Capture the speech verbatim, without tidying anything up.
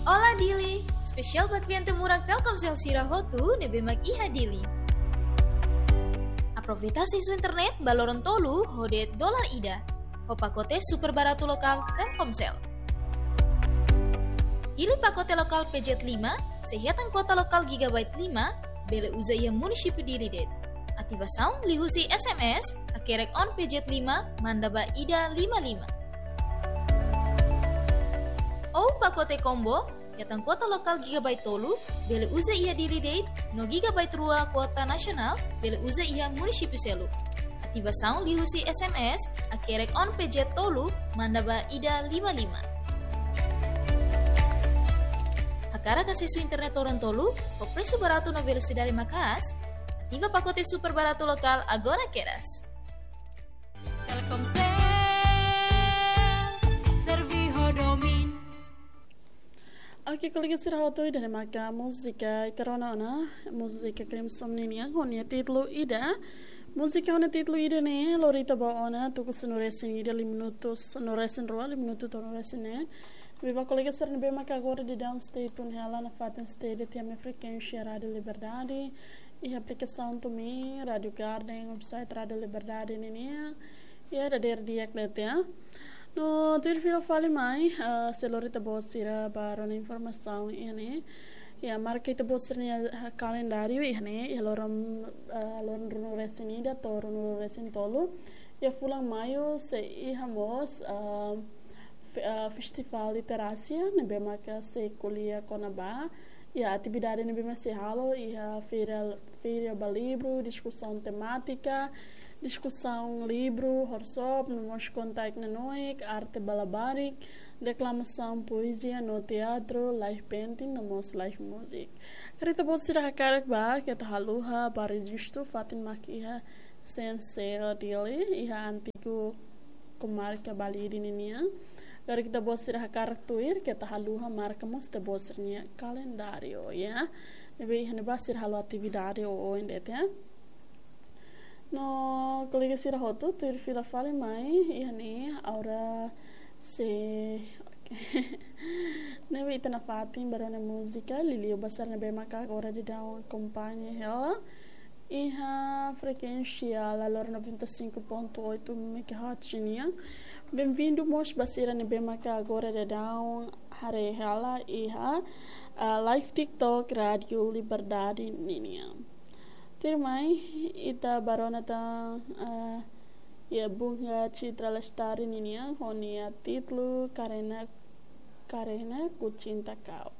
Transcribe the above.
Olá Dili, espesiál ba kliente murak Telkomsel sira hotu ne'ebé mak iha Dili. Aproveita asesu internet ba loron tolu ho de'it dolar ida, ho pakote super baratu lokál Telkomsel. Pilih pakote lokál P Z lima, se hetan kuota lokál gigabyte lima, bele uza iha munisípiu Dili de'it. Ativasaun liuhusi S M S, hakerek on P Z lima, manda ba ida lima lima. Ou pakote combo, hetan kuota lokál gigabyte tolu, bele uza iha Dili de'it, no gigabyte rua kuota nasionál, bele uza iha munisípiu seluk. Ativasaun liuhusi S M S, hakerek on P Z tolu, manda ba ida lima lima. Hakarak asesu internet loron tolu, ho presu baratu no velosidade maka'as, ativa pakote super baratu lokál agora kedas. Telkomsel, servi ho domin. Oke, kolega sira hotu, ida-ne'e maka múzika ita rona ona, múzika Crimson ninian, ho nia títulu Ida. Múzika ho nia títulu Ida ne'e, lori ita ba ona, tuku sanulu-resin-ida, liu minutu sanulu-resin-rua, liu minutu tolunulu-resin-neen. Ne'ebé ba kolega sira ne'ebé maka agora daudaun stay tune hela nafatin stay de'it iha ami-nia frekuénsia Rádiu Liberdade, iha aplikasaun TuneIn, Rádiu Garden, website Rádiu Liberdade ninian, iha dadeer di'ak de'it. No tuir fila fali mai, ah, sei lori ita-boot sira ba rona informasaun iha ne'e. Iha marka ita-boot sira-nia, ah, kalendáriu iha ne'e, iha loron, ah, loron ruanulu-resin-ida to'o ruanulu-resin-tolu. Iha fulan maiu sei iha mós, ah, fe-, ah, festivál literásia, ne'ebé maka sei ko'alia kona-ba iha atividade ne'ebé mak sei halo, iha feira, feira ba livru, diskusaun temátika, diskusaun livru, workshop, no mós konta-ekn nanoik, arte ba labarik, deklamasaun poezia, no teatru, live painting, no mós live music. Karik ita-boot sira hakarak bá, keta haluha bá rejistu, fatin mak iha C N C Dili, iha antigu komarka Balide ninian. Karik ita-boot sira hakarak tuir, keta haluha marka mós ita-boot sira-nia kalendáriu, ya. Ne'ebé iha ne'ebá sira halo atividade oioin de'it, ya. No kolega sira hotu, tuir fila fali mai, iha ne'e, agora sei, ne'ebé ita nafatin ba rona múzika, liuliu ba sira ne'ebé maka agora daudaun akompaña hela iha frekuénsia Lalor noventa e cinco ponto oito megahertz nian. Benvindu mós ba sira ne'ebé maka agora daudaun haree hela iha, ah, live TikTok Rádiu Liberdade ninian. Tuirmai, ita bá rona tan, ah, iha Bunga Citra Lestari ninian, ho nia títulu Karena, Karena Ku Cinta Kau.